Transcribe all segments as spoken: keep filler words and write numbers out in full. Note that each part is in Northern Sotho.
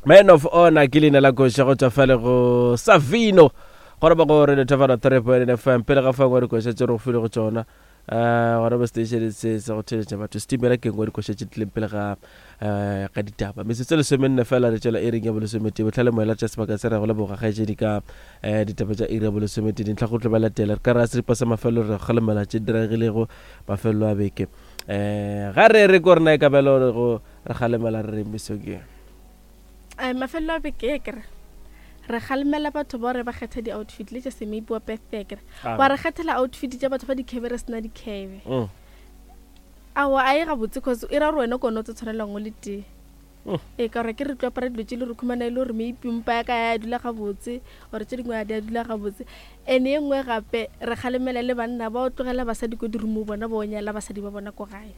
Man of Honor ke leina la koša go tšwa fale go Savino gore ba go re Thefana three point F M pele ga fangwe dikoša tše re go file go tšona um gona mo station se se go theletša batho setimela ke nngwe dikoša tše tlileng pele ga um ga ditaba metsotso lesomenne fela re tšwela iring ya bolesometee bohlale moela tša sebaka se re go leboga kgaetšedi ka um ditaba tša iri ya bolesometee dintlha go tlo ba latela re ka re a seripa sa mafelelo re kgalemela tše diregilego mafelelo a beke um ga re re ko rena e ka belo re go re kgalemela re re mesong ye um mafelelo a beke e kere re kgalemela batho ba gore ba kgetha di-outfit le tša semeipi wa birthday kere wa re kgethela outfit tša batho ba dikhebe re sena dikhebe Mm. aowa a e gabotse cause e ra gore wena kone o tse tshwanelang o le tee Mm. ee ka gore ke re tlo apara dilo tše le re khumana e le gore maybe mpa ya ka ya dula gabotse ore tše dingwe a di a dula gabotse and e nngwe gape re kgalemela le banna ba o tlogela basadi ko dirumo bona ba o nyala basadi ba bona ko gae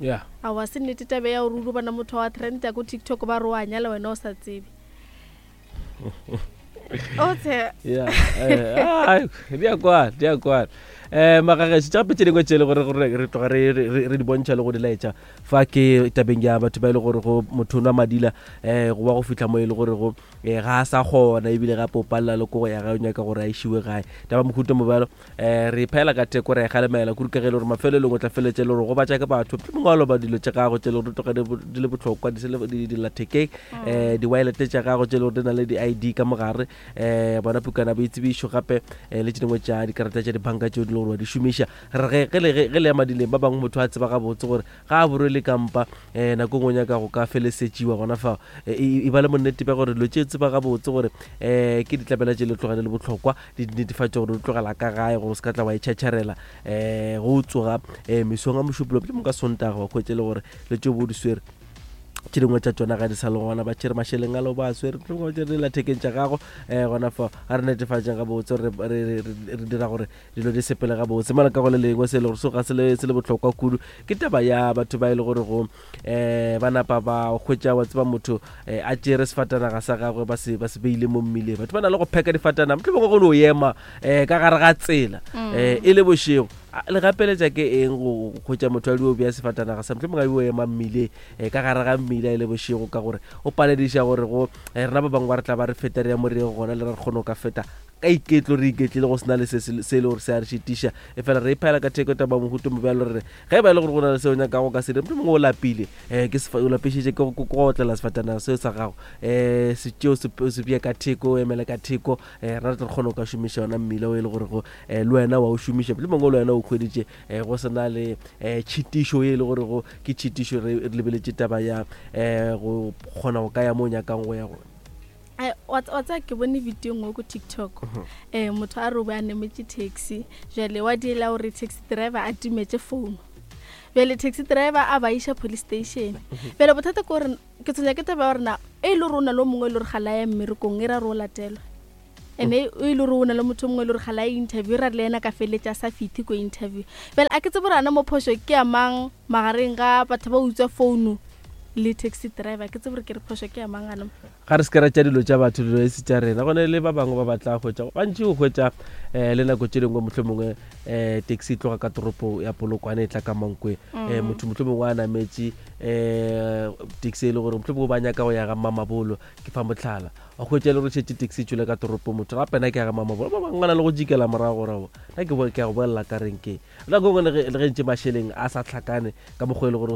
yeah aowa se nnete tabe ya gore o ro bona motho wa trenda ko TikTok ba re o a nyala wena o sa tsebe o tshe yeah eh, ah, di a kwana di a kwana um magageso tša gape tše dingwe tše e le gore gore re tloga re re- re di bontšha le go di laetša fa ke tabeng ya batho ba e le gore go motho o nwa madila um go ba go fitlha mo e le gore go um ga a sa kgona ebile gape o palela le ko go ya gae o nyaka gore a išiwe gae taba mohuta mobjalo um re phela ka theko re e galemela kudu ka ge e le gore mafelelong o tla feletše le gore go batša ke batho mohlomongwe wa loba dilo tša gago tše e le gore di tloga di bo- di le bohlokwa di se le- di dillathekeng um di-wallet tša gago tše e le gore di na le di-I D ka mogare um bona pukana boitsebišo gape um le tše dingwe tša dikarata tša dibanka tšeo di le gore wa di šomiša re ge ge le ge ge le ya madileng ba bangwe motho a tseba gabotse gore ga a borwele kampa um nako e nngwe o nyaka go ka felesetšiwa gona fao e e- e ba le monnete bja gore dilo tše tseba gabotse gore um ke ditlabela tše le tloga di le bohlokwa di netefatše gore di tlogela ka gae gore o se ka tla wa itšhatšharela um go o tsoga um mesong a mošupolo mohlomong ka Sontaga wa hwetše le gore le tšeo bo di swere tše dingwe tša tšona ga di sa le gona ba tšere mašeleng a le ba swere mohlomongwe ba tšere dillathekeng tša gago um gona fa ga re netefatšeng gabotse re re- re- re re dira gore dilo di sepele gabotse mola ka go le lengwe se e le gore so ga se le se le bohlokwa kudu ke taba ya batho ba e le gore go um ba napa ba hwetša wa tseba motho um a tšere sefatanaga sa gagwe ba se ba se beile mo mmileng batho ba na le go pheka difatanaga mohlomongwe go no ema um ka gare ga tsela um e le bošego A- le gapeletša ke eng go hwetša motho a dio bea sefatanaga sa mohlomongwe a dio ema mmileng um ka gare ga mmila e le bošego ka gore o palediša gore go eh, rena ba bangwe ba re tla ba re feta re ya mo re yeng gona le re kgone go ka feta ka iketlo re iketlile go sena le se se se e le gore se a re šitiša e fela re iphela ka theko taba mohuto mobjalo re re ge e ba e le gore go na le seo nyakago ka se dire mohlomongwe o lapile um ke sefa- o lapišitše ke go ke go otlela sefatanaga seo sa gago um se tšeo se se bee ka theko o emele ka theko um rena re tle re kgone go ka šomiša yona mmila o e le gore go um le wena wa o šomiša mohlomongwe le wena o hweditše um go sena le um tšhitišo ye e le gore go ke tšhitišo re re lebeletše taba ya um go kgona go ka ya mo o nyakang go ya gona Ai, wa wa tseba ke bone video nngwe ko TikTok um motho a re o be a nametše taxi jale wa diela gore taxi driver a timetše phone bjale taxi driver a ba iša police station bjale bothata ke gore ke tshwenya ke taba ya gore na e le gore o na le o mongwe e le gore ga la ya mmerekong e ra re o latelwa and-e e le gore o na le motho o mongwe e le gore ga la ya interview e ra re le ena ka feletša a sa fitlhe ko interview bjale a ke tsebe gore ana mo phošo ke ya mang magareng ga batho ba utswa founu le taxi driver ke tsebe gore ke re phošo ke ya mang ana ga re se ke ra tša dilo tša batho dilo e se tša rena gone le ba bangwe ba batla hwetša gantši o hwetša um le nako tše dingwe mohlomongwe um taxi e tloga ka toropo ya Polokwane e tla ka Mankweng um motho mohlomongwe a nametše um taxi e le gore mohlomongwe ba nyaka go ya ga Mamabolo ke fa motlhala wa hwetša e le gore šetše taxi e tšwele ka toropo motho gape na ke ya ga Mamabolo ba bangwe ba na le go jikela morago gore aowa, nna ke bo- ke ya go bolela ka renkeng nako e nngwe le ge le ge ntše mašeleng a sa hlakane ka mokgwa e le gore